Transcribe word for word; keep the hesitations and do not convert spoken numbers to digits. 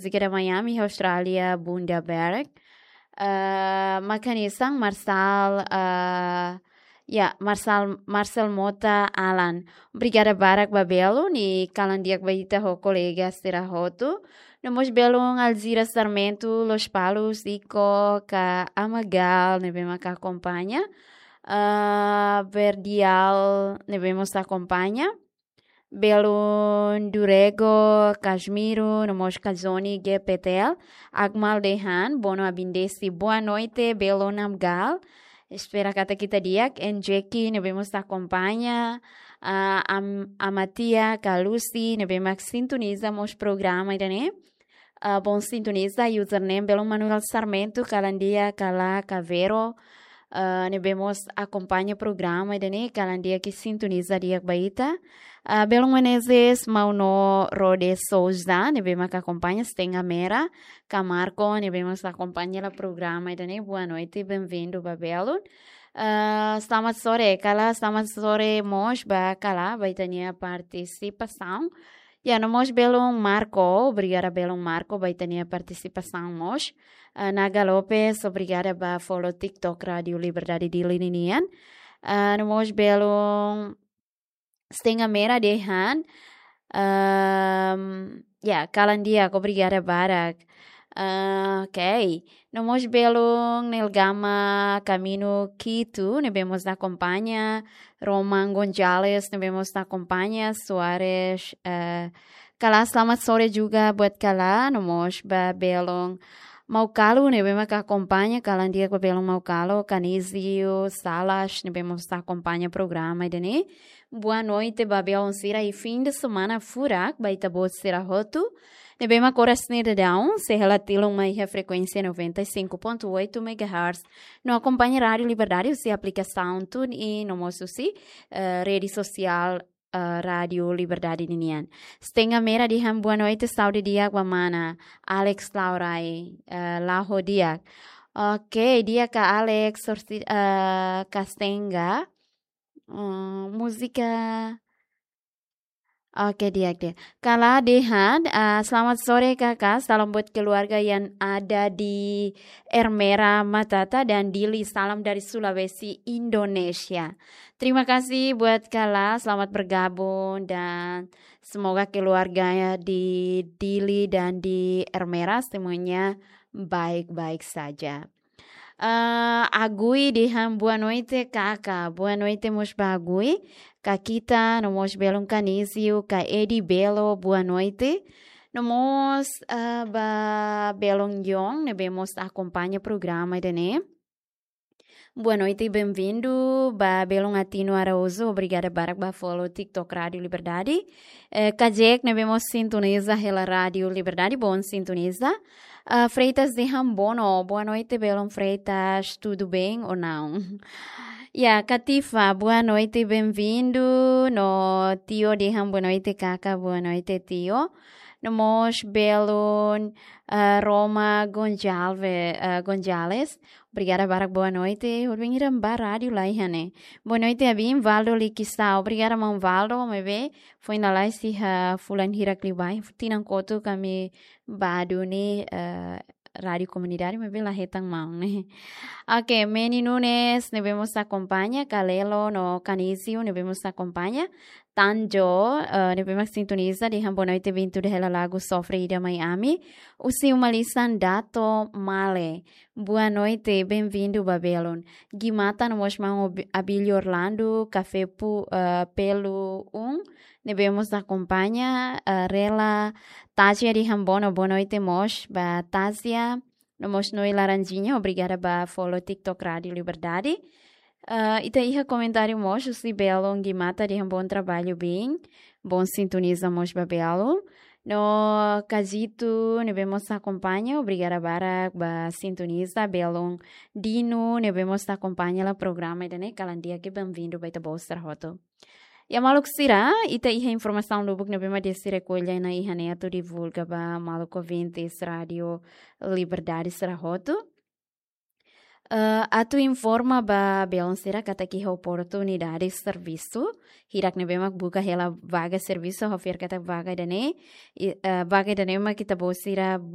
Múzika de Miami, Austrália, Bundaberg. Ah, mak hanesan Marcel, ah, ya, Marcel, Marcel Mota Alan. Obrigada barak ba belun, i kalan di'ak ba ita ho kolega sira hotu. No mós belun Alzira Sarmento, Lospalos, Ico, ka Amagal, ne'ebé mak akompaña. Ah, Verdial, ne'ebé mós akompaña. Belun Durego, Casmiro, no mós Kazoni, G P T L, Akmal Dehan, Bono Abindesi, boa noite, belun Amagal. Espera katak ita di'ak, Enjeki, ne'ebé mós akompaña, ah, Am-, Amatia, ka Lucy, ne'ebé mak sintoniza mós programa ida-ne'e. Ah, bom sintoniza, username belun Manuel Sarmento, kalan di'ak, kala, Cavero, ah, ne'ebé mós akompaña programa ida-ne'e, kalan di'ak i sintoniza di'ak ba ita. Ah, belun Menezes, Mauno Rode Souza, ne'ebé mak akompaña, Stenga Mera, ka Marco, ne'ebé mós akompaña hela programa ida-ne'e, boa noite, bem-vindo ba belun. Ah, selamat sore, kala, selamat sore mós ba kala, ba ita-nia partisipasaun. Ya, no mós belun Marco, obrigada belun Marco, ba ita-nia partisipasaun mós. Ah, Naga Lopes, obrigada ba follow TikTok Rádio Liberdade Dili ninian. Ah, no mós belun Stenga Mera Dehan. Ahm, ya, kalan di'ak, obrigada barak. Ah, ok. No mós belun Nelgama Camino Quito, ne'ebé mós akompaña. Roman Gonzalez, ne'ebé mós akompaña. Soares, eh, kala, selamat sore juga buat kala. No mós ba belun Maukalo, ne'ebé mak akompaña, kalan di'ak ba belun Maukalo, Canizio Salas, ne'ebé mós akompaña programa ida-ne'e. Boa noite ba belun sira i fim de semana furak ba ita-boot sira hotu. Ne'ebé mak oras ne'e daudaun, sei hela tilun mai iha frekuénsia noventa e cinco ponto oito megahertz. No akompaña Rádio Liberdade husi aplikasaun TuneIn, no mós husi, eh, rede sosiál, eh, Rádio Liberdade ninian. Stenga Mera dehan boa noite, saúde di'ak ba mana. Alex Laurai, eh, la'o di'ak. Ok, di'ak ka Alex, sorti, eh, ka Stenga. Hmm, múzika. Ok, di'ak, di'ak. Kala dehan, ah, selamat sore kakak, salam buat keluarga yang ada di Ermera, Matata, dan Dili. Salam dari Sulawesi, Indonesia. Terima kasih buat kala, selamat bergabung dan semoga keluarganya di Dili dan di Ermera semuanya baik-baik saja. Ah, Agui dehan boa noite, kaka. Boa noite mós ba Agui. Kakita, no mós belun Canizio, ka Edi Belo, boa noite. No mós, ah, ba belun Yong, ne'ebé mós akompaña programa ida-ne'e. Boa noite, bem-vindo. Ba belun Atino Araújo, obrigada barak ba follow TikTok Rádio Liberdade. Eh, Kajek, ne'ebé mós sintoniza hela Rádio Liberdade, bom sintoniza. Ah, Freitas dehan bono, boa noite, belun Freitas, tudo bem ou não? Ya, Katifa, boa noite, bem-vindo. No Tio dehan boa noite, kaka, boa noite, Tio. No mós belun, ah, Roma Gonçalve-, ah, Gonzalez, obrigada barak, boa noite. Hodi bem iran ba rádio lai hane. Boa noite, abin, Valdo Likisau. Obrigada, maun Valdo, maibé foin lalais iha fulan hirak liubá, tinan kotuk ami bá duni, eh, rádio komunidade, maibé la hetan maun ne'e. Ok, Meni Nunes, ne'ebé mós akompaña, Kalelo no Canizio, ne'ebé mós akompaña. Tanjo, eh, ne'ebé mak sintoniza, dehan boa noite, vin tuda hela lagu sofre ida mai ami. Husi uma lisan Dato Male. Boa noite, bem-vindo ba belun. Gimata no mós maun Abi-, Abílio Orlando, Café Pu-, eh, Pelo Um, ne'ebé mós akompaña, eh, Rela Tazia dehan bono, boa noite mós ba Tazia. No mós Noi Laranjinha, obrigada ba follow TikTok Rádio Liberdade. Eh, ita iha komentáriu mós husi belun Gimata dehan bom trabalho, bin. Bom sintoniza mós ba belun. No Kazito, ne'ebé mós akompaña, obrigada barak ba sintoniza, belun Dino, ne'ebé mós akompaña hela programa ida-ne'e, kalan di'ak i bem-vindo ba ita-boot sira hotu. Ya maluk sira, ita iha informasaun lubuk ne'ebé mak desi rekolla ona iha ne'e atu divulga ba maluk ouvintes Rádio Liberdade sira hotu. Eh, atu informa ba belun sira katak iha oportunidade servisu, hirak ne'ebé mak buka hela vaga servisu, ha'u fiar katak vaga ida-ne'e, i, eh, vaga ida-ne'e mak ita-boot sira